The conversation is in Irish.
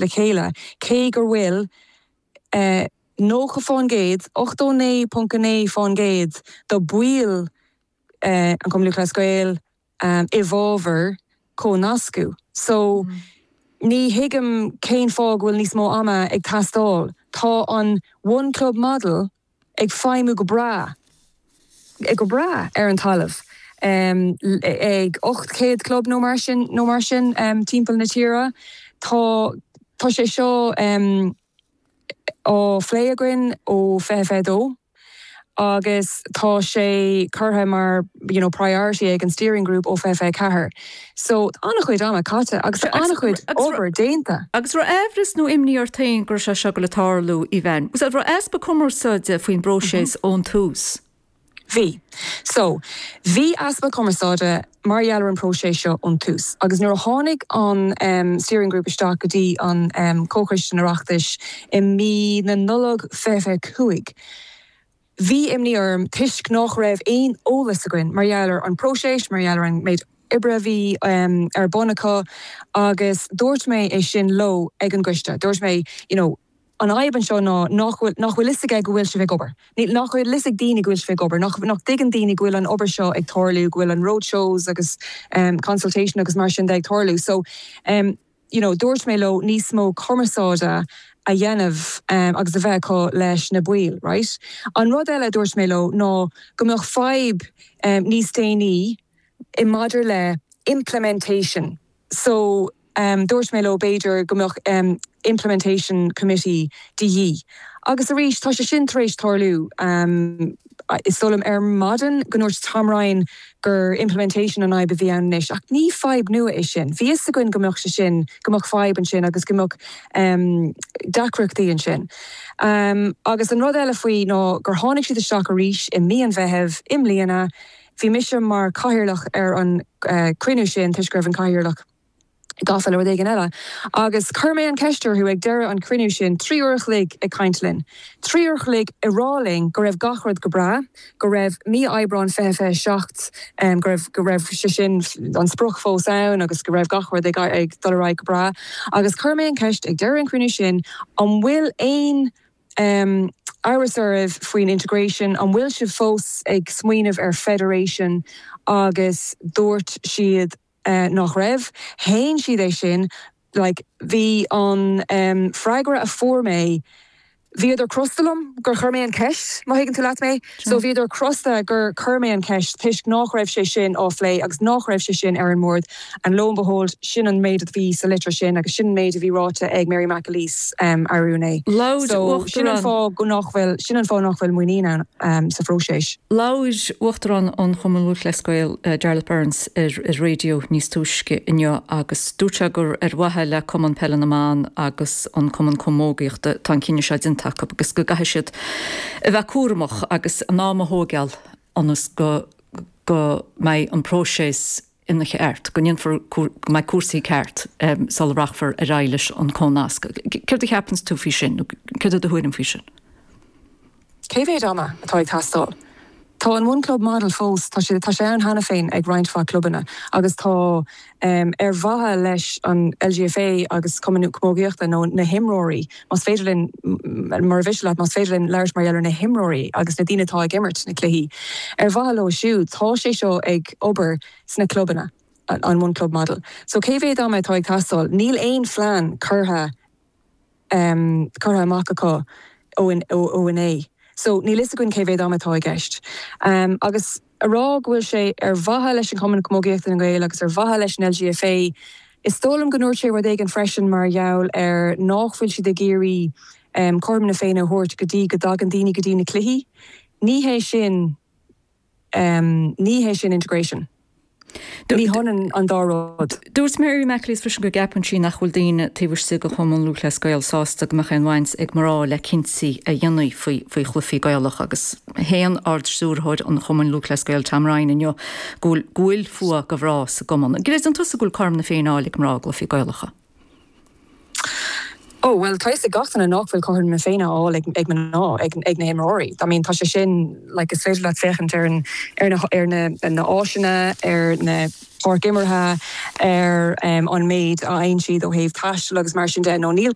le chéile cé gur bhfuil 90%, 89.9% de bhaill an Chumann Lúthchleas Gael i bhfabhar comhnascadh. So ní thuigim cén fáth go bhfuil níos mó ama ag teastáil. Tá an One Club Model ag feidhmiú go breá, go breá ar an talamh ag 800 club nó mar sin, nó mar sin timpeall na tíre. Tá, tá sé seo á phlé againn ó 2022 agus tá sé curtha mar you know priority ag an steering group ó 2024. So tá an-chuid ama caite agus tá an-chuid obair déanta. Agus raibh aimhreas nó imní ort féin go raibh sé seo ag goil ag tarlú, Aoibheann? An raibh easpa cumarsáide faoin bpróiseas ón tús? Bhí. So, bhí easpa cumarsáide mar gheall ar an bpróiseas seo ón tús. Agus nuair a tháinig an steering group isteach go dtí an Comhchoiste an Oireachtais i mí na Nollag 2025, Bhí imní orm toisc nách raibh aon eolas againn mar gheall ar an bpróiseas, mar gheall ar an méid oibre a bhí ar bun acu agus dúirt mé é sin leo ag an gcoiste. Dúirt mé, you know, an fhadhb anseo ná nach bhfuil, nach bhfuil fhios aige go bhfuil sibh ag obair. Níl, nach bhfuil fhios ag daoine go bhfuil sibh ag obair, nach, nach dtuigeann daoine go bhfuil an obair seo ag tarlú, go bhfuil an roadshows agus consultation agus mar sin de ag tarlú. So, you know dúirt mé leo níos mó cumarsáide a dhéanamh agus a bheith acu leis na baill, right? An rud eile a dúirt mé leo ná go mbeadh fadhb níos déanaí i maidir le implementation so dúirt mé leo b'fhéidir go mbeadh implementation committee de dhíth agus arís tá sé sin tar éis tarlú. Is dóigh liom ar maidin go ndúirt Tom Ryan gur implementation an fhadhb a bhí ann anois, ach ní fadhb nua é sin. Bhí fhios againn go mbeadh sé sin, go mbeadh fadhb ansin agus go mbeadh deacrachtaí ansin. Agus an rud eile faoi ná gur tháinig siad isteach arís i mí an Mheithimh i mbliana. Bhí mise mar chathaoirleach ar an cruinniú sin toisc go raibh an cathaoirleach gafa le rud éigin eile. Agus chuir mé an cheist orthu ag deireadh an chruinniú sin, 3 uair a chloig ag caint linn, 3 uair a chloig ag rá linn go raibh gach rud go breá, go raibh mí Aibreán 2027, go raibh, go raibh sé sin, an sprioc fós ann agus go raibh gach rud ag, ag dul ar aghaidh go breá. Agus chuir mé an cheist ag deireadh an chruinniú sin, an bhfuil aon amhras oraibh faoin integration, an bhfuil sibh fós ag smaoineamh ar federation agus dúirt siad, nach raibh. Shéan siad é sin. Like, bhí an freagra a fuair mé, bhíodar crosta liom gur chuir mé an ceist, má thuigeann tú leat mé. So bhíodar crosta gur chuir mé an ceist toisc nách raibh sé sin á phlé agus nách raibh sé sin ar an mbord and lo and behold, sin an méid a bhí sa litir sin agus sin an méid a bhí ráite ag Mary McAleese arú inné. So sin an fáth go nach bhfuil, sin an fáth nach bhfuil muinín ann sa phróiseas. Labhair Uachtarán an Chumainn Lúthchleas Gael, Jarlath Burns, ar an raidió níos túisce inniu agus dúirt sé gur ar mhaithe le Cumann Peile na mBan agus an Cumann Camógaíochta atá an cinneadh seo déanta acu agus go gcaithfidh siad a bheith cúramach agus a n-am a thóigeáil ionas go go mbeidh an próiseas ina cheart, go ndéanfar, go mbeidh cúrsaí ceart sula rachfar ar aghaidh leis an comhnasc. Céard a cheapanns tú faoi sin, nó céard é do thuairim faoi sin? Cé mhéad ama atá ag teastáil? Tá an One Club Model fós, tá sé, tá sé ann cheana féin ag roinnt mhaith clubanna agus tá, ar mhaithe leis an LGFA agus Cumann Camógaíochta nó na himreoirí, más féidir linn, mura mhiste leat, más féidir linn labhairt mar gheall ar na himreoirí agus na daoine atá ag imirt na cluichí, ar mhaithe leo siúd, tá sé seo ag obair sna clubanna, an One Club Model. So cé mhéad ama atá ag teastáil? Níl aon phlean curtha curtha amach acu ó inné. So níl fhios againn cé mhéad ama atá i gceist. Agus a rá go bhfuil sé ar mhaithe leis an Chumann Camógaíochta na nGael agus ar mhaithe leis an LGFA, is dóigh liom go ndúirt sé rud éigin freisin mar gheall ar nách bhfuil siad ag iarraidh cothrom na Féinne a thabhairt go dtí go dtagann daoine go dtí na cluichí. Ní hé sin. Ní hé sin integration. Ní hionann an dá rud. Dúirt Mary McAleese freisin go gceapann sí nach bhfuil daoine taobh istigh de Chumann Lúthchleas Gael sásta go mbeadh aon bhaint ag mná le cinntí a dhéanamh faoi faoi chluichí Gaelacha agus shéan Ard-Stiúrthóir an Chumainn Lúthchleas Gael Tom Ryan inniu go bhfuil go bhfuil fuath do mhná sa gcumann. An gcreideann tusa go bhfuil cothrom na Féinne á fháil ag mná i gcluichí Gaelacha? Ó, bhuel, tá a fhios ag gach duine nach bhfuil cothrom na Féinne á fháil ag mná, ag na himreoirí. I mean, tá sé sin, like, is féidir leat féachaint ar an, ar na, ar na, na áiseanna, ar na páirc imeartha, ar an méid a fhaigheann siad ó thaobh taistil agus mar sin de, nó níl.